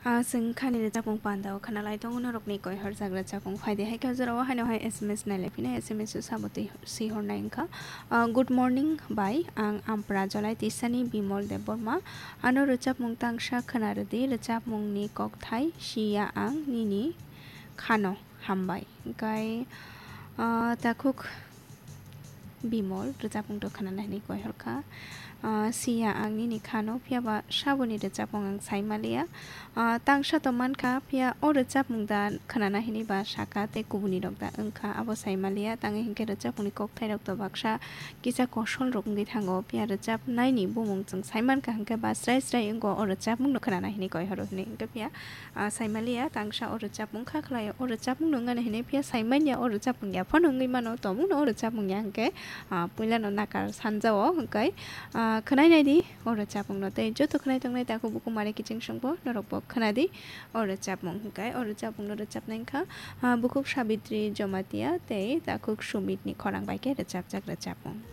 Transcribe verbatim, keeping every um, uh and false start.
Ah, chwng khani rwchapmung pandao khwnalai tongo norokni koi horjak rwchapmung. Phaidi hai khe jorao haino hai S M S nailai phino S M S o sabo twi swi hornai wngkha. Ah, good morning bai, ang Ampra Jolai Tisani Bimol Debbarma. Ano rwchapmung tangsa khwna rwdi, rwchapmungni kokthai Siya Ang Nini Khano. Hambai. Hwnkhe, ah, takhuk Bimol rwchapmung to khwnana hinwi koi horkha. Ah, Siya ang nini khano, phiya ba saboni rwchapmung ang sai maliya. Ah, tangsa to mankha, phiya o rwchapmung da khwnana hinwi ba saka tei kubuni rok da wngkha, abo sai maliya. Tangwi hinkhe rwchapmungni kokthairok to baksa kisa kosol rok wngwi thango, phiya rwchapnaini bumung chwng sai mankha hinkhe ba srai srai wngo o rwchapmung no khwnana hinwi koi horo hinwi. Hinkhe phiya ah, saimaliya, tangsa o rwchapmung kha khlaio, o rwchapmung no wngani hinwi phiya saimanya, o rwchapmung ya phano wngwi mano, tongmung no o rwchapmung ya hwnkhe, ah, puila no nakar sanjao hwnkhe, ah, khwnai naidi o rwchapmung no tei joto khwnai tongnai takhuk bukhuk mare kiching songbo norok bo khwnadi o rwchapmung hwnkhe o rwchapmung no rwchapnai wngkha, ah, bukhuk Sabitri Jomatia tei takhuk Sumit ni khorang bai khe rwchapjak rwchapmung.